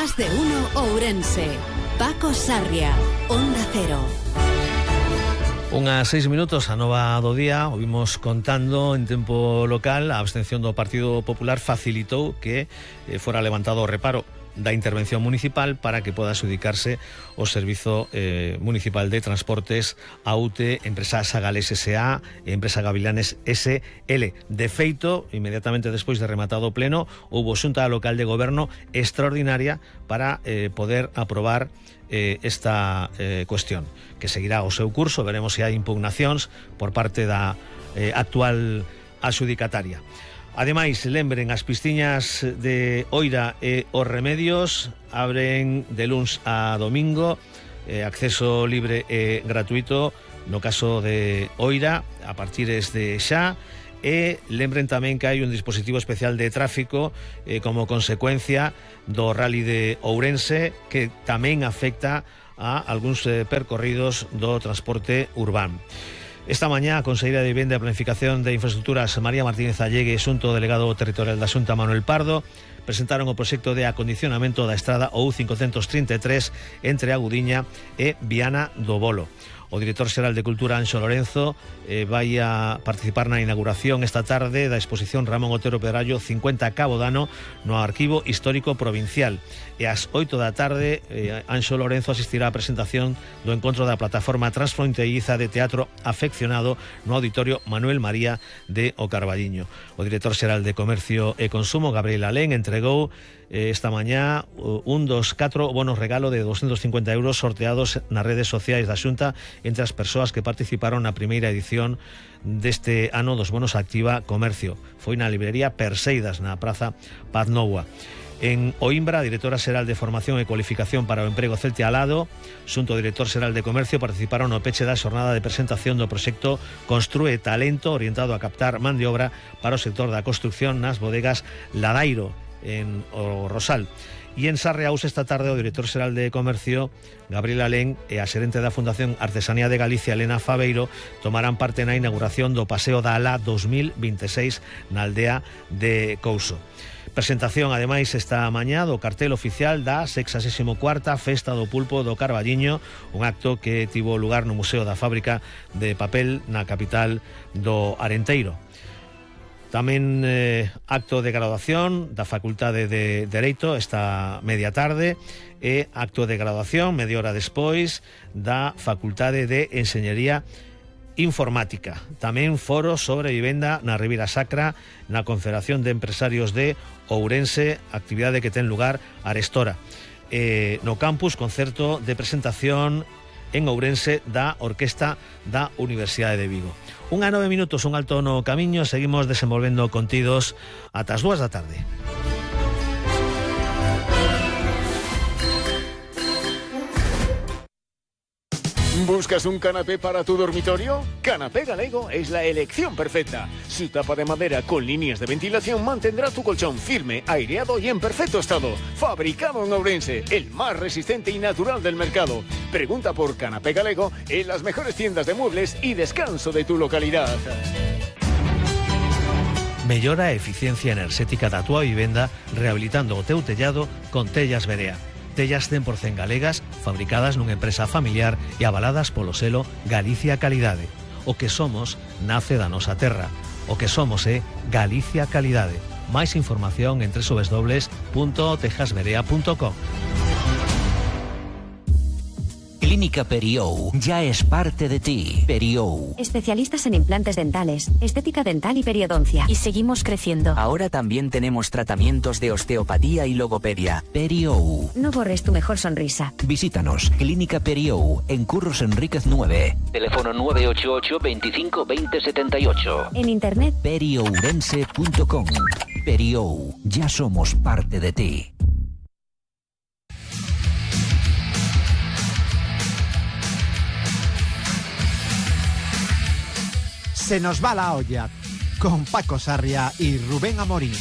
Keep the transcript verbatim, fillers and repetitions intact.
Más de uno Ourense. Paco Sarria, Onda Cero. Unhas seis minutos a nova do día. Ouvimos contando en tempo local a abstención do Partido Popular facilitou que eh, fora levantado o reparo da intervención municipal para que poda adxudicarse o Servizo eh, Municipal de Transportes A U T E, Empresa Sagales S A e Empresa Gavilanes S L. De feito, inmediatamente despois de rematado o pleno, houbo xunta local de goberno extraordinaria para eh, poder aprobar eh, esta eh, cuestión, que seguirá o seu curso. Veremos se hai impugnacións por parte da eh, actual adxudicataria. Ademais, lembren, as piscinas de Oira e os Remedios abren de luns a domingo, eh, acceso libre e gratuito no caso de Oira a partir de xa, e lembren tamén que hai un dispositivo especial de tráfico eh, como consecuencia do Rally de Ourense, que tamén afecta a algúns eh, percorridos do transporte urbano. Esta mañá a conselleira de Vivenda e Planificación de Infraestructuras María Martínez Allegue e xunto delegado territorial da Xunta Manuel Pardo presentaron o proxecto de acondicionamento da estrada O U cincocentos trinta e tres entre a Gudiña e Viana do Bolo. O director xeral de Cultura, Anxo Lorenzo, eh, vai a participar na inauguración esta tarde da exposición Ramón Otero Pedrallo cincuenta Cabo Dano no Arquivo Histórico Provincial. E ás oito da tarde, eh, Anxo Lorenzo asistirá á presentación do encontro da plataforma transfronteiriza de teatro afeccionado no Auditorio Manuel María de O Carballiño. O director xeral de Comercio e Consumo, Gabriel Alén, entregou eh, esta mañá un dos catro bonos regalo de doscientos cincuenta euros sorteados nas redes sociais da Xunta entre as persoas que participaron na primeira edición deste ano dos bonos Activa Comercio. Foi na librería Perseidas, na Praza Paz Noua. En Oimbra, a directora xeral de Formación e Cualificación para o Emprego Celte Alado, xunto ao director xeral de Comercio, participaron no peche da xornada de presentación do proxecto Construe Talento, orientado a captar man de obra para o sector da construcción nas bodegas Ladairo, en o Rosal. E en Sarreaus esta tarde o director xeral de Comercio, Gabriel Alén, e a xerente da Fundación Artesanía de Galicia, Elena Fabeiro, tomarán parte na inauguración do Paseo da Alá dos mil vinte e seis na aldea de Couso. Presentación, ademais, esta mañá do cartel oficial da sexagésima cuarta Festa do Pulpo do Carballiño, un acto que tivo lugar no Museo da Fábrica de Papel na capital do Arenteiro. Tamén eh, acto de graduación da Facultade de Dereito esta media tarde e acto de graduación media hora despois da Facultade de Enxeñería Informática. Tamén foro sobre vivenda na Ribeira Sacra, na Confederación de Empresarios de Ourense, actividade que ten lugar arestora. Eh, no campus, concerto de presentación en Ourense da Orquesta da Universidade de Vigo. Un a nove minutos, un alto no camiño, seguimos desenvolvendo contidos ata as dúas da tarde. ¿Buscas un canapé para tu dormitorio? Canapé Galego es la elección perfecta. Su tapa de madera con líneas de ventilación mantendrá tu colchón firme, aireado y en perfecto estado. Fabricado en Ourense, el más resistente y natural del mercado. Pregunta por Canapé Galego en las mejores tiendas de muebles y descanso de tu localidad. Mellora a eficiencia enerxética da tua vivenda rehabilitando o teu tellado con Tellas Berea. Tellas cen por cen galegas, fabricadas nunha empresa familiar e avaladas polo selo Galicia Calidade. O que somos nace da nosa terra. O que somos é Galicia Calidade. Máis información en doble u doble u doble u punto tejas berea punto com. Clínica Periou ya es parte de ti. Periou. Especialistas en implantes dentales, estética dental y periodoncia. Y seguimos creciendo. Ahora también tenemos tratamientos de osteopatía y logopedia. Periou. No borres tu mejor sonrisa. Visítanos. Clínica Periou en Curros Enríquez nueve. Teléfono nueve ocho ocho, veinticinco, veinte, setenta y ocho. En internet periourense punto com. Periou. Ya somos parte de ti. Se nos va la olla, con Paco Sarria y Rubén Amorín.